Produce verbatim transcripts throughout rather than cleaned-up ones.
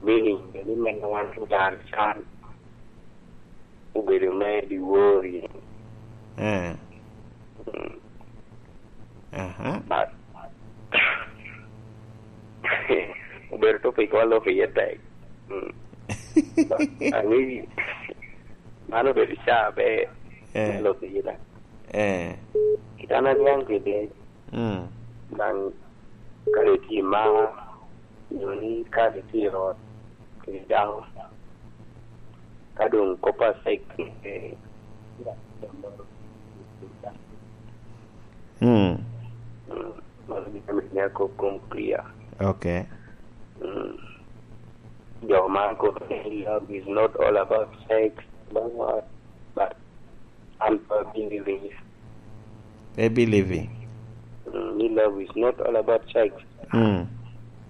Meaning, ni men wan ogar can obedo me diwori. Eh. Mm. Aha. But, obedo topic wa lok iye tek. Mm. But, ang'eyi, man obedo ca be, eh, me lok iye tek. Eh. Kit an aniaŋ kede, mm, daŋ kare tye i mar, nyo ni kare tye i ot, kede dako, ka doŋ kop a sex, eh, mm, mm, mano gin ame miyo akop kom clear. Okay. Mm. Jo ma kobo ni love is not all about sex, but what? But I'm a believer. A believing. Mm, ni love is not all about sex. Mm.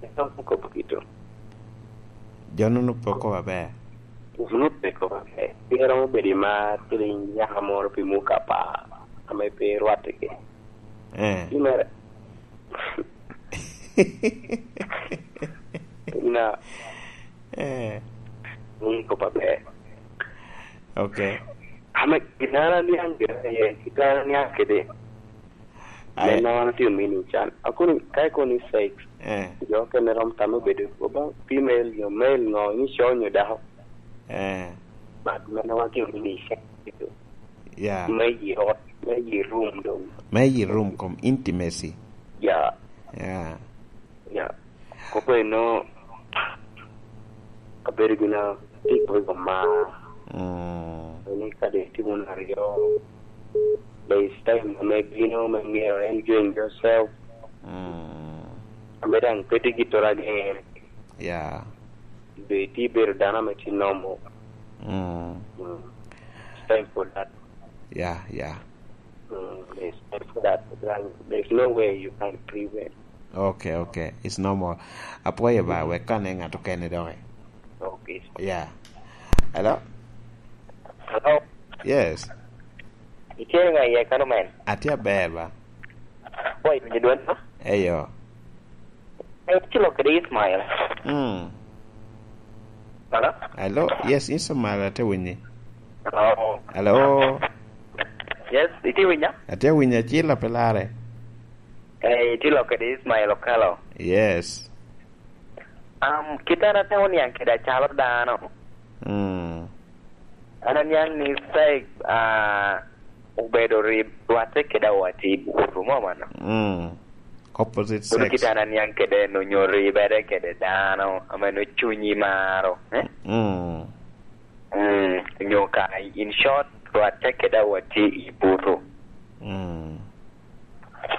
Ito kop kito. Jo-nu pe okobo aber. Jo-nu pe okobo aber. Pien romo bedo i mar kede nyaka moro pi muka apar, ame pe rwattigi. Eh. Pi mere. Na. Eh. Ni kop aber. Okay. Ame gin an aniaŋ gire, eh, gin an aniaŋ kede. Ai. Men wan otye meaning can. Akoni, ka ikoni sex, eh, jo okene rom tamo bedo oba female nyo male nyo, ni co nyo dako. Eh. But men wan otye meaning can. Yeah. Me i ot, me i room doŋ. Me i room kom intimacy. Yeah. Yeah. Ya, kop eno, abedo gin a tye i kome i kom mar. Mm. Ni kadi itye wunu aryo, there is time ame bino me myero enjoying yourself. Mm. Ame daŋ pe tye gittoro agen. Ya. Be itye bedo dano ame tye normal. Mm. Mm. It's time for that. Ya, ya. Mm, there's, there's that. There's no way you can prevent. Okay, okay. It's normal. Apwoyo ba, mm, wek kane ŋat okene doki. Okay. Yeah. Hello? Hello? Yes. Itye ŋa iye kano men? Atye aber ba. Boy, winyo dwon, no? Eyo. Eh, itye lok kede Ismail. Mm. Hello? Hello? Yes, Ismail, atye winyi. Hello? Hello? Yes, itye winya? Atye winyi, acil ape lare. Eh, itye lok kede Ismail Okelo. Yes. Um, kit an atemo niaŋ kede acalo dano. Mm. An aniaŋ ni sex, ah, obedo rib rwatte kede awati i buto, mo mano. Mm. Opposite sex. Kono kit an aniaŋ kede en onyo ribere kede dano, ame no cunyi maro, eh? Mm. Mm, onyo ka, in short, rwatte kede awati i buto. Mm.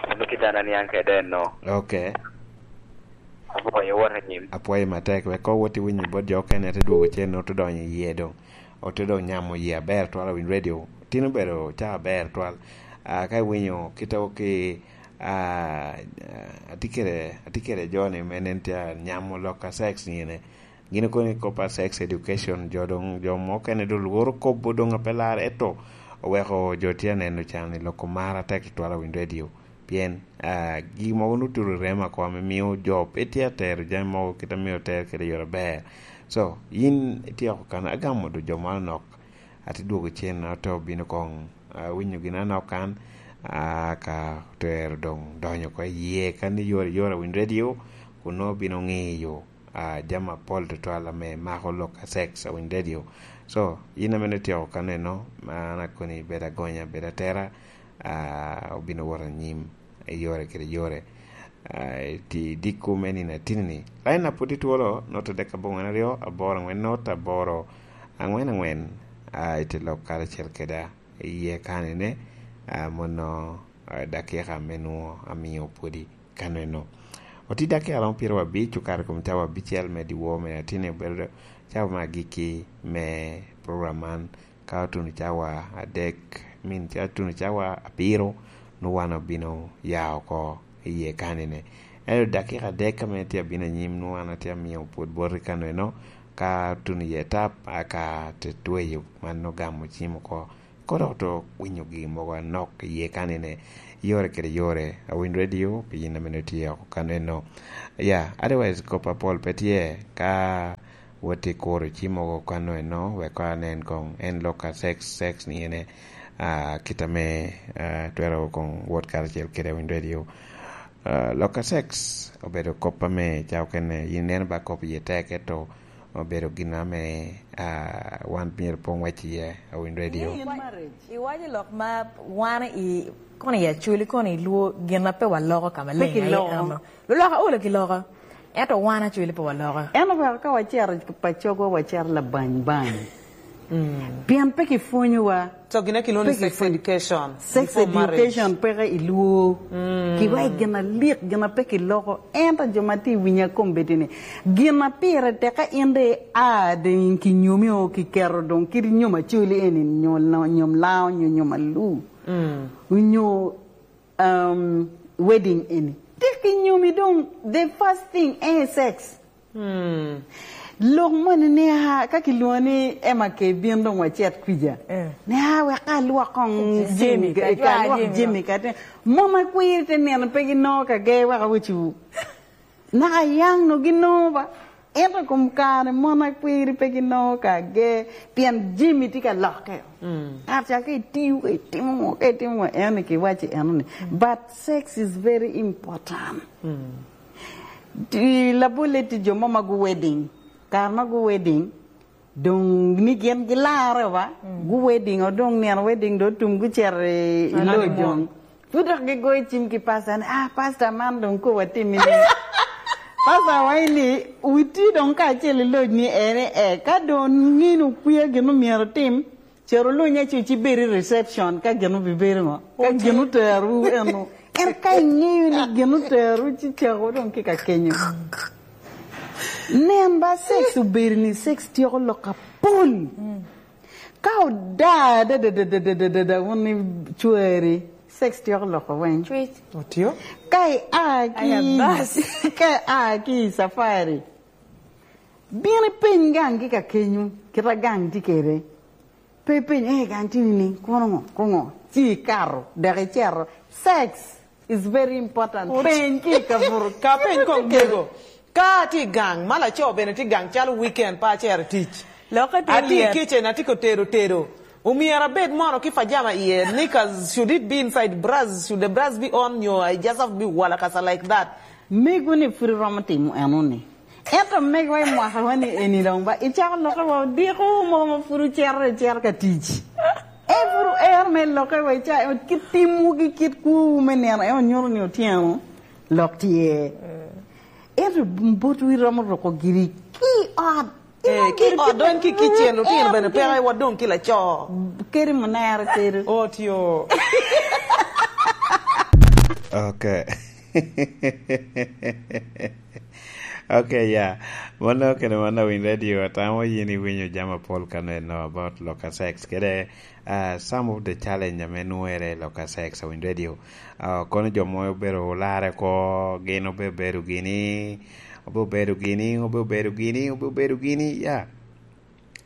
Mano kit an aniaŋ kede en no. Okay. Apwoyo, wot anyim. Apwoyo matek, wek koŋ wot iwiny bot jo okene, te dwogo cen, ote donyo i yie doŋ. Ote doŋ nyamo yie aber twal awiny radio. Tin obedo caa aber twal. Ah, ka iwinyo kite ki, ah, atye kede, atye kede jo-ni me nen tye anyamo lok a sex nyene. Gin okoni kop a sex education, jo doŋ, jo mukene doŋ lworo kobo doŋ ape lar, ento oweko jo tye aneno can i loko mar atek i twal awiny radio. Pien, ah, gin mogo nwoŋo tye i remo oko ame mio jo pe tye atero jami mogo kit a myero oter kede i yore aber. So, yin ityeko kan, agamo doŋ jo man onok, ate dwogo cen, ate obino koŋ, ah, winyo gin anok kan, ah, ka otero doŋ donyo oko i yie kan i yore, yore awiny radio, kun nwoŋo bino ŋiyo, ah, jami apol tutwal ame mako lok a sex awiny radio. So, yin ame nwoŋo ityeko kan eno, an akoni bed agonya, bed atera, ah, obino wot anyim i yore kede yore. Ah, i dikku me nino atini-ni. Lain a pwod itwolo, not adek abongwen aryo, aboro angwen not, aboro angwen angwen, ah, ite lok karacel keda i yie kanene, ah, mono, ah, dakika me nwoŋo amio pwodi kaneno. Oti dakika romo pyeraryo abic, okato i kom cawa abicel me dyewor me atini, obedo cawa me agikki me program man. Ka otuno cawa adek, I mean, ka otuno cawa abiro, nwoŋo wan obino ya oko i yie kanene. Ento dakika adek ame tye abino anyim, nwoŋo wan atye amio pwod boti kaneno, ka otuno iye tap, aka te tweyo, man ogamo cim oko. Kono dok winyo gin mogo anok i yie kanene, yore kede yore, awiny radio, pi yin ame nwoŋo itye oko kaneno. Ya, otherwise, kop apol pe tye, ka Wot i kuro ci mogo kano eno, wek kor anen koŋ en lok a sex, sex ni ene, ah, kit ame, ah, twero koŋ wot karacel kede Winy Radio. Ah, lok a sex obedo kop ame ca okene, yin ineno ba kop iye tek, ento obedo gin ame, ah, wan myero pe ŋwec iye, a Winy Radio. Iye in marriage. Iwaco lok ma wan i, kono i Acholi, kono i Luo, gin ma pe waloko ka maleng aye kiloko. Ano. Luloka olo kiloko. Ento wan Acholi pe waloko. En omyero ka wacito i pacogwa, wacito labany bany. Mm. Pien pe kipwonyowa. So gin ame kilwongo ni pe sex kipwony-, education sex before marriage. Education peke i Luo. Mm. Kiwa i gin alik, gin a pe kiloko. Ento jo ma tye i winya kombeddi ni, gin a pire tek ka in de a doŋ kinyomi o kiketo doŋ kit nyom Acholi eni, nyom, nyom Lao, nyo nyom Alu. Mm. Onyo um, wedding eni. Tek inyomi doŋ, the first thing, eh, sex. Hmm. Lok moni ni, ah, ka kilwongo ni Emma Kay bin doŋ wacit kwija. Eh. Ni, ah, wek ka alwok koŋ Jimmy, Jimmy, ka ka alwok Jimmy Jimmy ka te. Mon akwir te neno pe ginoko kage wek awecciwu. Naka yaŋ no ginoko ba. Ento kom kare mon akwiri pe ginoko kage, pien Jimmy tye ka lokke. Mm. Kare ca ka itiyo, ka itimo ŋo, ka itimo ŋo, en ni kiwacci eno ni. Mm. But sex is very important. Mm. Ti labolle tye jo mo ma gu wedding. Kare ma gu wedding, doŋ ni gin gilarre wa, mm, gu wedding, o doŋ nino wedding, doŋ otum gucito i, i lodge doŋ. Pud dok gigoyo cim ki pasta ni, "Ah, pasta, man doŋ kowa timmi ni." Pasta waŋ ni, "Wuti doŋ kacel i lodge ni ene, eh, ka doŋ nino kwie gin omyero otim, cero luny acu ci bed i reception ka gin obibedo ŋo? Ka gin oterowu eno." En ka iŋeyo ni gin oterowu ci cako doŋ ki ka kenyo. Nen ba sex obedo ni sex tyeko lok apol. Mm. Ka oda, da, da, wun ni cwari, sex tyeko loko weng. Cwec. Otio? Ka i a ki, aya, bas. Ka i a ki i safari, bin ipeny gang ki ka kenyo, kit a gang tye kede. Pe ipeny, "Eh, gang tye ni, kono ŋo, kono ŋo?" Ci ikato, dok icero. Sex is very important. Ot- Peny ki i kabuto. Ka peny koŋ mego. Ka atye i gang, ma laco bene tye i gang calo weekend, pe acero tic. Lokke te Atye i lyet. Kitchen, atye ka tedo tedo. Omyero abed mono ki pajama iye, knickers, should it be inside bras? Should the bras be on? Nyo I just have to be walakasa like that? Mego ni pwod iromo timo eno ni. Ento mego i mwaka wa ni eni doŋ ba, icako lokke wa odiko mogo ma pwod ocero, icero ka tic. E pwod ero me lokke wa, ica-, kit timwu ki kit kwowu me nino, en onyuto ni otyeno lok tye. Ento botwu iromo ruko giri ki ot. Eh, ki ot doŋ ki kicen, lutino bene peke wa doŋ ki laco. Keri munere keri. Otio. Ok. Ok, ya. Mano kene mano Winy Radio, atamo yin iwinyo jami apol kano eno about loka sex. Kede, ah, some of the challenge ame nwere loka sex a Winy Radio. Ah, kono jo mo obedo olarre ko, gin obe-, obedo gini, obe obedo gini, obe obedo gini, obe obedo gini, ya.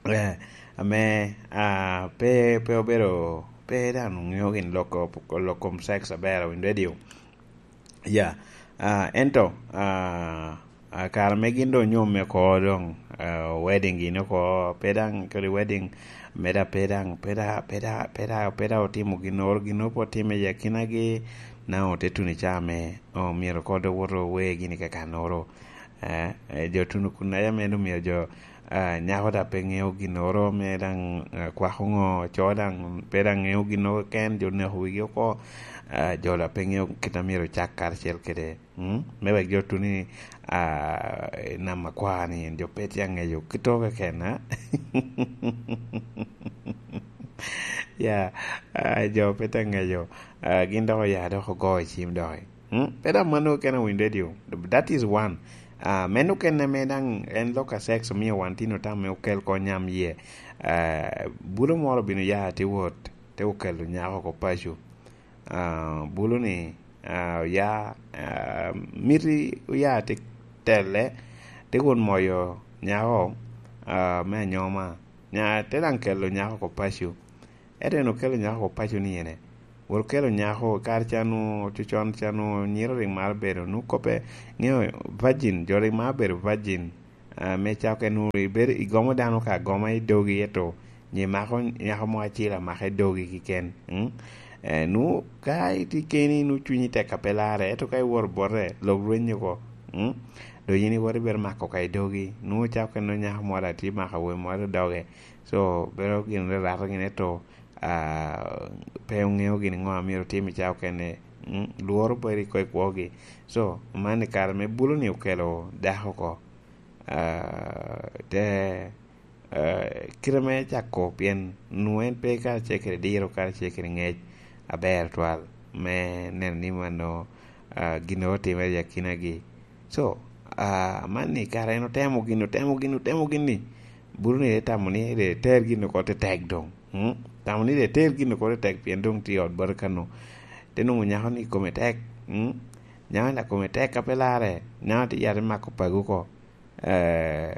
Eh, ame, ah, pe, pe obedo, pe dano ŋeo gin loko, lok kom sex aber a Winy Radio. Ya, ah, ento, ah, ah, kare me gin doŋ nyomme oko doŋ, ah, wedding gini oko, pe daŋ kodi wedding, me da pe daŋ, pe da, pe da, pe da, pe da otimo ginnoro, ginnoro pe otime i akinagi, na ote tuno i caa me, omyero kode woto owe gini kakannoro. Eh, eh, jo tuno kun aye ame omyero jo, ah, nyako da pe ŋeo ginnoro me daŋ, ah, kwako ŋo, co daŋ pe daŋ ŋeo ginnoro keken, jo neko wigi oko, ah, jo da pe ŋeo kit a myero ocak karacel kede, mm? Me wek jo tuni, ah, nam akwar ni en jo pe tye aŋeyo kit oko keken, ah? Ya, ah, jo pe tye aŋeyo, ah, gin dok oya dok ogo i cim dok. Mm, pe daŋ mano keken a Winy Radio. That is one. Ah, meno kene me daŋ en lok a sex omio wan tin otamo me okel kony yam iye. Ah, bulo moro obino ya te wot, te okelo nyako oko paco. Ah, bulo ni, ah, oya, ah, miti oya te telle, te wot moyo nyako, ah, me anyoma. Nya, te daŋ kelo nyako oko paco. Ento en okelo nyako oko paco ni ene. Wot okelo nyako, kare ca nu, cocon ca nu, nyiro rik maro bedo, nu koppe, ŋeo, virgin, jo rik maro bedo virgin. Ah, me ca okene nwoŋo ibedo igomo dano ka agoma i dogi, eto nyi mako nyako mo acel amaka i dogi kiken. Mm? Eh, nu ka itye keni, nu cunyi tek a pe larre, eto ka iworo bote, lok rwenyo oko. Mm? Dok yin iwot ibedo mako ka i dogi, nu ca okene nyako mo atye mako awobi mo i doge. So, bedo gin rarato gin, eto, ah, pe oŋeo gin ŋo a myero otim i ca okene. Mm? Lworo bedo i kwo i kwogi. So, man i kare me bulo-ni okelo dako oko. Ah, te, ah, kite me cako, pien nwoŋo en pe karacel kede diro, karacel kede ŋec aber twal, me neno ni mano, ah, gin otimere i akinagi. So, ah, amanni kara en otemo gin, otemo gin, otemo gin ni, bulo-ni te tamo ni, te ter gin oko tetek doŋ. Mm? Tamo ni te ter gin oko tetek, pien doŋ tye i ot bati kano. Te nwoŋo nyako-ni kome tek. Mm? Nyako-ni kome tek ka pe larre, nyako tye yat mako pago oko. Eh,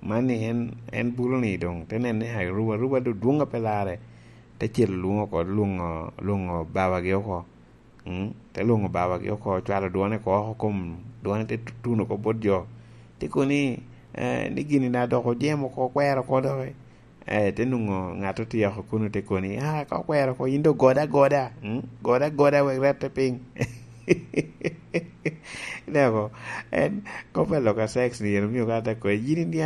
man ni en, en bulo-ni doŋ te nene ni aruba, aruba doŋ dwoŋ a pe larre, te cito lwoŋo oko, lwoŋo, lwoŋo babagi oko. Mm, te lwoŋo babagi oko, cwalo dwone oko oko kom, dwone te tu-, tuno oko bot jo. Te kono ni, eh, ni gini na dok ojemo oko, okwero oko doki. Eh, te nwoŋo ŋat otye oko kuno te kono ni, "Ah, ka okwero oko, yin doŋ gode agoda, mm, gode agoda wek rette piny." Ineko, en kop a lok a sex ni, en omio ka te kono, "Yin iniaŋ